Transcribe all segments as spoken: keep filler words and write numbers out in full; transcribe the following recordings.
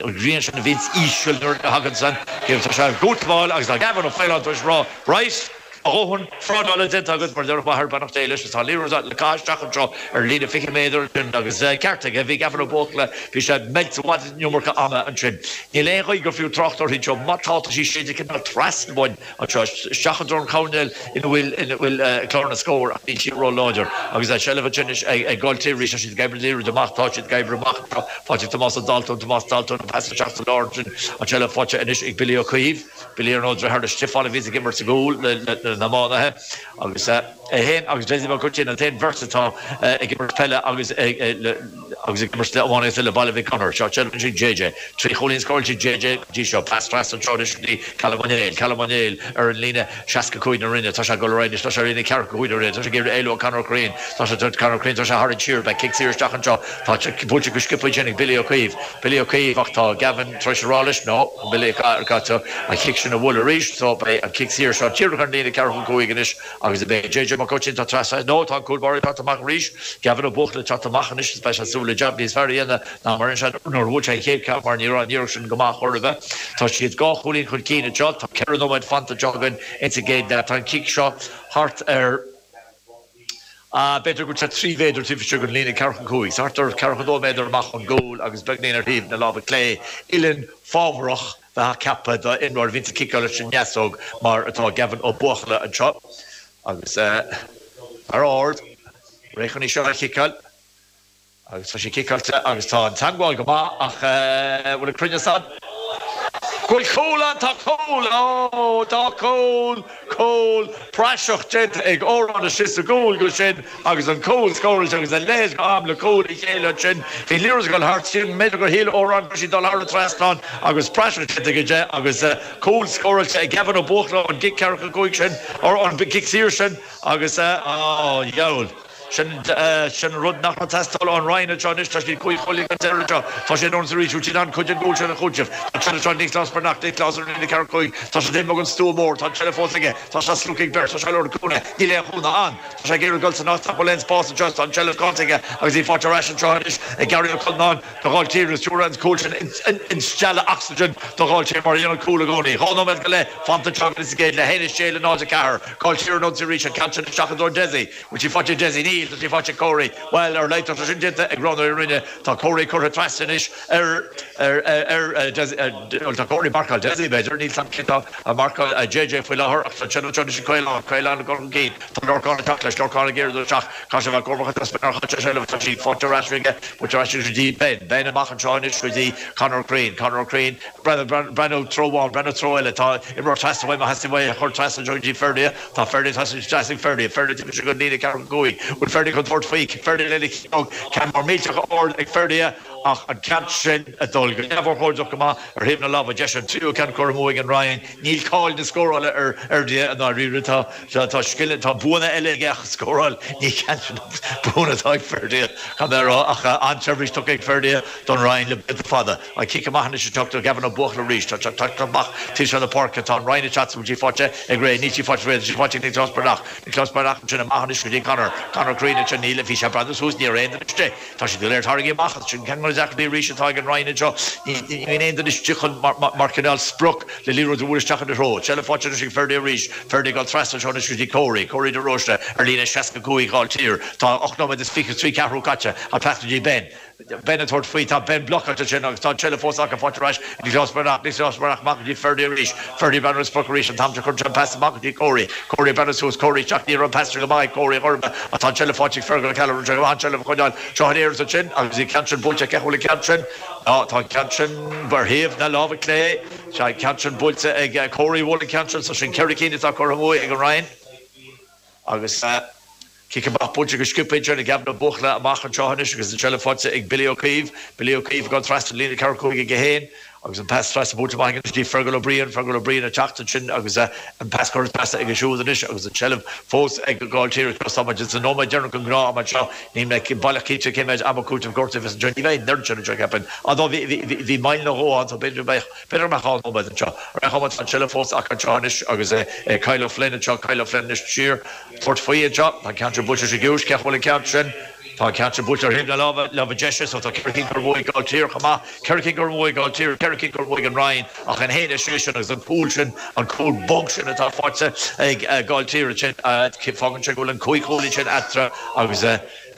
An ghrian sin a bhíonns íseal nuair a thagann san tá sé gútáil agus Gavin Ó Faoláin tar éis rá right a dhóthain trádála déanta agat mar deir m'athair beannacht Dé leis tá liathróid le caitheamh isteach anseo ar líne fiche méadar agus ceart aige bhí Gavin Ó Buachalla bhí sé meilte bhd iomarca ama ansin. Níl aon chaoi gur fiú trácht uirthi seo má tá sí sé cineál trasna bhain anseo isteach an choirnéal ina bhfuil ina bhfuil clár na scór ach níl sí ró-láidir agus é seilbh ansin ag Gailltír arís siad ag oibriú liathróid amach tá siad ag oibriú amach faighte Tomás Dalton Tomás Dalton an pas isteach sa lár sin an seilbh faighte anois ag Billy Ó Caoimh Billy ar nó deartháir le Stiofán a bhí ag imirt sa gcúl le na iománaithe agus é féin agus Dessie Mac Uitín an t-aon bheirt atá ag imirt peile agus agus ag imirt le iománaíocht le Baile Mhic Gonair seo sin sin JJ trí chúilín scóráilte JJ dtí seo pas trasna anseo anois go dtí Callum Ó Néill Callum Ó Néill ar an líne seasca cúig na Rinne tá sé ag dul ar aghaidh tá sé ar líne ceathracha cúig na Rinne tá sé ag iarraidh éalú ó Conor Crean tá sé Conor Crean tá sé thar an siar beidh cic saor isteach anseo tá buailte go sciobtha sin ag Billy Ó Caoimh Billy Ó Caoimh ach tá Gavin tar éis rá leis no Billy caithfidh an cic sin a bhualadh arís so beidh an cic saor seo díreach ar an líne ceathracha cúig anois agus beidh JJ Mac Uitín tá trasna nó tá an cúl báire teacht amach arís Gavin Ó Buachalla teacht amach anois is beidh sé súil le jab níos fearr a dhéanamh ná mar sin nuair a bhuail sé an chéad ceann mar ní raibh an iarracht sin go maith chor ar bith. Tá siad dhá chúilín chun cinn anseo tá ceithre nóiméad fanta anseo againn insa gcéad leath tá an cic seo thart ar B'fhéidir go trí mhéadar taobh istigh den líne ceathracha cúig, thart ar ceathracha dó méadar amach ón gcúl agus beagáinín ar thaobh na láimhe clé uillinn fábharach bheith ceaptha d'imreoir a bhíonn ag ciceáil leis an ndeasóg mar atá Gavin Ó Buachalla anseo agus ar ard réidh chun í seo a chiceáil agus tá sé ciceáilte agus tá an teagmháil go maith ach bhfuil an cruinneas ann. Bhfuil cúl ann tá cúl ó tá cúl cúl praiseach déanta ag Órán istigh sa gcúl go sin agus an cúl scóráilte agus a leithéid go am le cúl a chéile sin Bhí liathróid ag dul thart sin b'fhéidir gur shíl Órán go sí dul thar an trasnán agus praiseach déanta aige agus cúl scóráilte ag Gavin Ó Buachalla an gcic ceathracha cúig sin or an gcic saor sin agus á gheall. sin sin rud nach teastáil ón Rinn seo anois tá siad cúig chúilín an deireadh seo tá sé ann arís sin an chuid an gcúl sin a chúiteamh Tá seo Nioclás Breathnach Nioclás ar líne ceathracha cúig Tá sé ag an stua mór tá seilbh fós aige tá sé slogtha ag beirt tá sé lorg cúnamh níl aon chúnamh ann Tá sé ag iarraidh dul san áit bhfuil aon spás anseo tá an tseilbh caillte aige agus í faighte ar ais anseo anois ag Gary Ó Conán do Ghailltír is dúra an cúl sin instealladh ocsaigin do Ghailltír mar dhéanamh cúl i gcónaí. Dhá nóiméad go leith fanta anseo agus géad le haon sé le náid a ceathair Gailltír an arís an ceann sin isteach do Desi bhfuil sí faighte Desi níl tá sí faighte Corey Well ar leitar sin déanta ag rannú rinne tá Corey curtha trasna anois ar ar ar ar tá Corey marcáil Desi b'fhéidir níl sam tá a marcáil JJ faoi láthair ach tá sin sin Caolán Caolán go cinn Tá Lorcán teach leis Lorcán ag iarraidh teach Cá se bheith gormcha tá sí faighte ar ais aige bu ar ais go dtí Ben Ben amach anseo anois go dtí Conor Crean Conor Crean breathnú treo amháin breathnú treo eile tá imreoir trasna uaidh má theastaíonn uaidh a chur trasna go dtí Ferdia tá Ferdia trasna Ferdia Ferdia go líne ceathracha cúig bhfuil Ferdia chun tabhairt faoi Ferdia lena ceann mar millteach ard ag Ferdia ach an ceann sin ag dul go neamhurchóideach go maith ar thaobh na láimhe deise an tríú ceann curtha amú ag an Rinn níl cáil na scórála ar Ferdia an ríre tá tá scil tá buanna eile aige ach scóráil ní ceann buanna atá ag Ferdia Tá mé rá ach an-tseirbhís tugtha ag Ferdia don Rinn le blianta fada an cic amach anois ag Gavin Ó Buachalla arís tá amach tí na páirce tá an Rinn chat sí faighte ag ré ní sí faighte ré sí faighte Nioclás Breathnach Nioclás Breathnach sin amach anois go dtí Conor Conor Crean sin níl bhí sé breathnú suas ní raibh aon duine Tá sé léir tarraingthe amach sin ceann deacrachtaí arís atá ag an Rinn seo ní aon duine chun mar cineál sprioc le liathróid a bhualadh isteach ina threo. Seilbh faighte ag Ferdia arís Ferdia ag dul trasna seo anois go dtí Corey Corey de Róiste ar líne seasca cúig Ghailltír Tá ocht nóiméad is fiche trí ceathrú caite an pas go dtí Ben. Ben ag tabhairt faoi tá Ben blocáilte sin agus tá seilbh fós acu faighte ar ais Nioclás Breathnach Nioclás Breathnach amach go dtí Ferdia arís Ferdia breathnú sprioc arís an t-am chun an pas amach go dtí Corey Corey breathnú suas Corey teach ní an pas go maith Corey chorba atá seilbh faighte Fergal Keller an an seilbh choinneáil seo an éar sin agus í ceann sin buailte ce bhfuil ceann sin tá ceann sin ar thaobh na láimhe clé sé ceann sin buailte ag Corey bhfuil ceann sin so sin ceithre cinn atá curtha amú ag an Rinn agus Cic amach buailte go sciobtha ag Gavin Ó Buachalla amach anseo anois agus an seilbh faighte ag Billy Ó Caoimh, Billy Ó Caoimh gan trasna líne ceathracha cúig aige féin agus an pas trasna buailte amach dtí Fergal Ó Briain, Fergal Ó Briain ag teacht ansin agus an pas curtha trasna ag siúd anois agus an tseilbh fós ag Gailltír táimid sa nóiméad deireanach an gnáth am seo ní mé baileach cinnte cé mhéad ama cúitimh gortaithe bhí Johnny bheith nerd sin seo ceapaim a bhí mail na gáán so b'fhéidir b'fhéidir mar dhá nóiméad anseo. Ar chuma an tseilbh fós acu anseo anois agus Kyle Flynn anseo Kyle Flynn anois siar tabhairt faoi anseo an ceann sin buailte sé giúis ce bhfuil an ceann sin. Tá an ceann sin buailte ar thaobh na láimhe, láimhe deise, so tá ceithre cinn curtha amú ag Gailltír chomh maith, ceithre cinn curtha amú ag Gailltír, ceithre cinn curtha amú ag an Rinn, ach an haon a sé sin agus an cúl sin, an cúl bog sin atá faighte ag Gailltír ansin, fágann sé go bhfuil an cúig chúilín sin eatarthu agus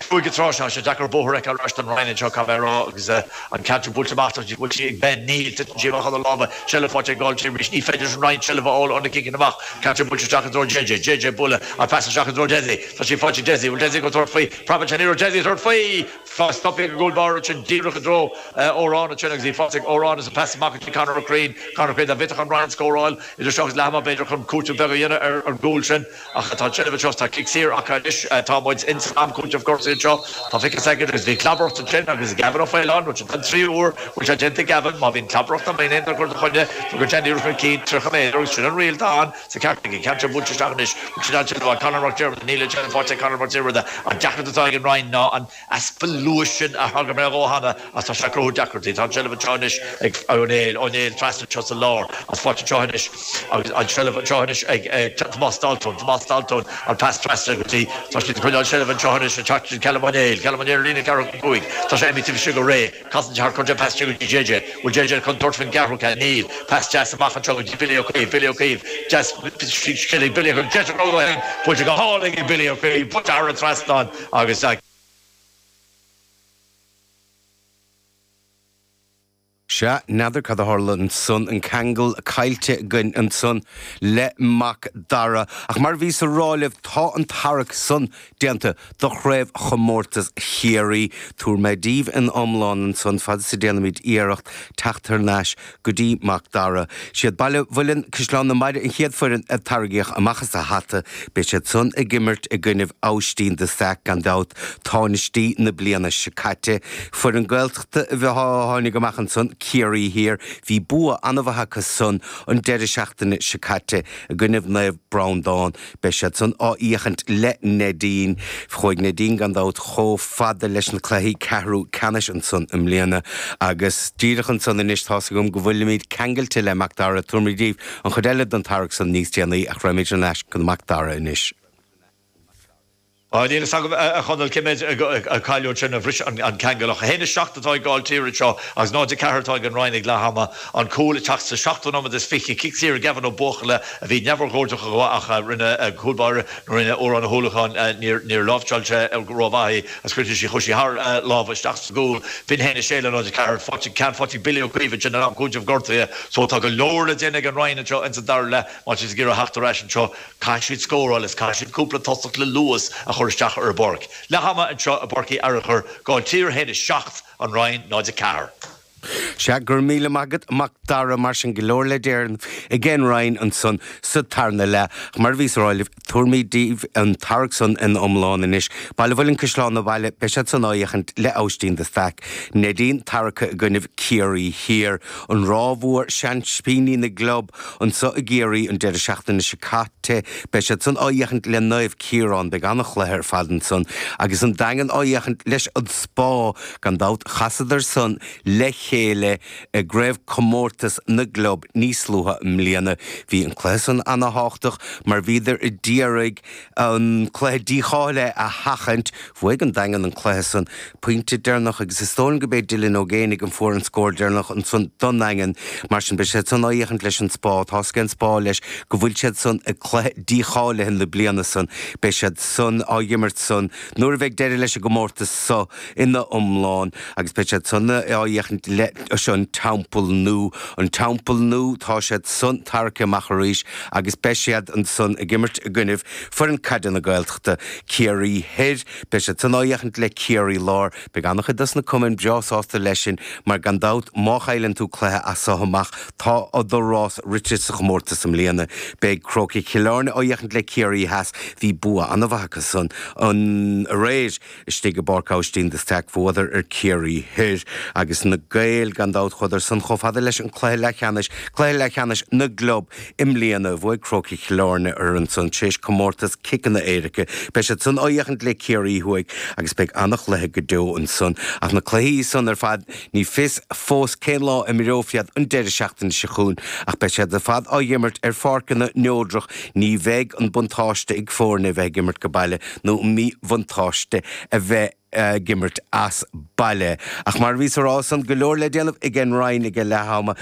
cúig an tráth seo, tá sé deacair bóthar a fheiceáil ar ais don Rinn anseo, caithfidh mé a rá, agus an ceann sin buailte amach, tá sí buailte ag Ben Neil, titeann sí amach óna lámha, seilbh faighte ag Gailltír arís, ní féidir leis an Rinn seilbh a fháil ó na ciceanna amach, ceann sin buailte isteach i dtreo JJ, JJ bualadh an pas isteach i dtreo Dessie, tá sí faighte ag Dessie, bhfuil Dessie ag tabhairt faoi, Preabann sé an iarraidh Dessie tabhairt faoi! Stoptha ag an gcúl báire ansin díreach i dtreo Odhrán ansin agus í faighte ag Odhrán agus an pas amach go dtí Conor Ó Curraoin. Conor Ó Curraoin, dá bhféadfadh an Rinn scóráil idir seo agus leath ama b'fhéidir chun cúiteamh beag a dhéanamh ar an gcúl sin ach tá an tseilbh anseo. Tá cic saor acu anois. Tá muid in san am cúitimh gortaithe anseo. Tá fiche soicind agus bhí clabaireacht ansin agus Gavin Ó Faoláin, rud sin an tríú huair go bhfuil sé déanta ag Gavin. Má bhíonn clabaireacht nó má bhíonn aon dochar do choinne, tugann sé an iarracht chun cinn tríocha méadar agus sin an riail atá ann. Sa ceart ag an ceann seo buailte isteach anois. Bhfuil siad ansin ó Conor Mac Diarmada. Níl an tseilbh faighte ag Conor Mac Diarmada. An deacracht atá ag an Rinn ná an easpa luais sin a thagair mé dhó cheana ach tá sé ag cruthú deacrachtaí. Tá an tseilbh anseo anois ag Ó Néill. Ó Néill trasna anseo sa lár agus faighte anseo anois agus an tseilbh anseo anois ag Tomás Daltún. Tomás Daltún an pas trasna go dtí. Tá siad ag coinneáil seilbh anseo anois ag teacht Callum Ó Néill. Callum Ó Néill ar líne ceathracha cúig. Tá sé imithe taobh istigh go réidh. Casann sé thart cuireann sé pas isteach go dtí JJ. Bhfuil JJ chun tabhairt faoin gceathrú ceann? Níl. Pas deas amach anseo go dtí Billy Ó Caoimh. Billy Ó Caoimh. Deas scil ag Billy Ó Caoimh. Deis a rogha féin. Buailte go hálainn ag Billy Ó Caoimh. Buailte thar an trasnán agus. Sea, n'fheadar cad a tharla ansan, an ceangal caillte againn ansan le Mac Dara. Ach mar a bhíos a rá libh, tá an tarrac san déanta do Chraobhchomórtas Chiarraí. Tabharfaidh mé daoibh an iomlán ansan fad is a déanaimid iarracht teacht thar n-ais go dtí Mac Dara. Siad Baile Mhuilinn, Caisleán na Maide an chéad foireann a tarraingíodh amach as a hata. Beidh siad san ag imirt i gcoinnibh Aibhistín de Staic, gan dabht, táinistí na bliana seo caite. Foireann Gaeltachta a tháinig amach ansan, Ciarraí Thiar. Bhí bua an-mhaith acu san an deireadh seachtaine seo caite i gcoinnibh Naomh Breandán. Beidh siad san á fhiachaint le Neidín. Chuaigh Neidín gan dabht chomh fada leis na cluichí ceathrú ceannais ansan i mbliana agus díreach ansan anois tá's agam go bhfuilimid ceangailte le Mac Dara. Tabharfaimid daoibh an chuid eile den tarrac san níos déanaí ach raghaimid thar n-ais go Mac Dara anois. Níl a fhios agam, a Chonaill, cé méid a cailleadh ansin a bhris an ceangal ach a haon a seacht atá ag Gailltír anseo agus náid a ceathair atá ag an Rinn ag leath ama. An cúl ag teacht sa seachtú nóiméad is fiche, cic saor ag Gavin Ó Buachalla a bhí neamhurchóideach go maith ach rinne cúl báire nó rinne Odhrán Ó hUallacháin, níor níor láimhseáil sé rómhaith í agus chuir sí chuaigh sí thar a lámha isteach sa gcúl. B'in a haon a sé le náid a ceathair. Faighte, ceann faighte ag Billy Ó Caoimh ansin in am cúitimh gortaithe so tá go leor le déanamh ag an Rinn anseo ins an dara leath má tá siad ag iarraidh theacht ar ais anseo. Caithfidh siad scóráil is caithfidh siad cúpla tosach le luas a chur isteach ar an bpáirc. Leath ama anseo i bPáirc Uí Fhearchair, Gailltír a haon a seacht, An Rinn náid a ceathair. Sea, go raibh míle maith agat, Mac Dara, mar sin go leor le déanamh ag an Rinn ansan sa tarna leath. Ach mar a bhíos a rá libh, tabharfaimid daoibh an tarrac san ina iomlán anois. Baile Mhuilinn Caisleán na Bhaile, beidh siad san á fhiachaint le Aibhistín de Staic. Neidín tarractha i gcoinnibh Ciarraí Thiar. An Ráth Mhór, seaimpíní na gclub anso i gCiarraí an deireadh seachtaine seo caite. Beidh siad san á fhiachaint le Naomh Ciarán. Beidh an-chluiche ar fad ansan. Agus an Daingean á fhiachaint leis an Spá. Gan dabht chasadar san le chéile i gCraobhchomórtas na gClub níos luaithe i mbliana. Bhí an cluiche san ana-thábhachtach mar bhíodar a d'iarraidh an cluiche dícháilithe a sheachaint. Bhuaigh an Daingean an cluiche san, pointe deireanach agus is dóigh liom go b'é Dylan Ó Géibheannaigh an fuair an scór deireanach ansan don nDaingean. Mar sin beidh siad san á fhiachaint leis an Spá. Tá's ag an Spá leis go bhfuil siad san i gcluiche dícháilithe na bliana san. Beidh siad san á dh'imirt san nuair a bheidh deireadh leis an gcomórtas so ina iomlán agus beidh siad san á fhiachaint leis an Teampall Nua. An Teampall Nua, tá siad san tarraicthe amach arís agus beidh siad ansan ag imirt i gcoinnibh foireann caide na Gaeltachta, Ciarraí Thoir. Beidh siad san á fhiachaint le Ciarraí Láir. Beidh an-chuid dos na cumainn breá sásta leis sin mar gan dabht má chailleann tú cluiche as so amach tá do rás rite sa chomórtas i mbliana. Beidh Crócaigh Chill Airne á fhiachaint le Ciarraí Theas. Bhí bua an-mhaith acu san an aréir istigh i bPáirc Aibhistín de Staic. Bhuadar ar Ciarraí Thoir agus na Gaeil gan dabht chuadar san chomh fada leis an cluiche leathcheannais, cluiche leathcheannais na gclub i mbliana. Bhuaigh Crócaigh Chill Airne orthu ansan tar éis comórtas ciceanna éirice. Beidh siad san á fhiachaint le Ciarraí Thuaidh agus beidh an-chluiche go deo ansan. Ach na cluichí san ar fad, ní fios fós cén lá a imreofar iad an deireadh seachtaine seo chugainn ach beidh siad ar fad á dh'imirt ar pháirceanna neodrach. Ní bheidh an buntáiste ag foirne a bheith ag imirt go baile nó an míbhuntáiste a bheith ag imirt as baile. Ach mar bhí rá san go leor le déanamh ag an Rinn ag leath ama.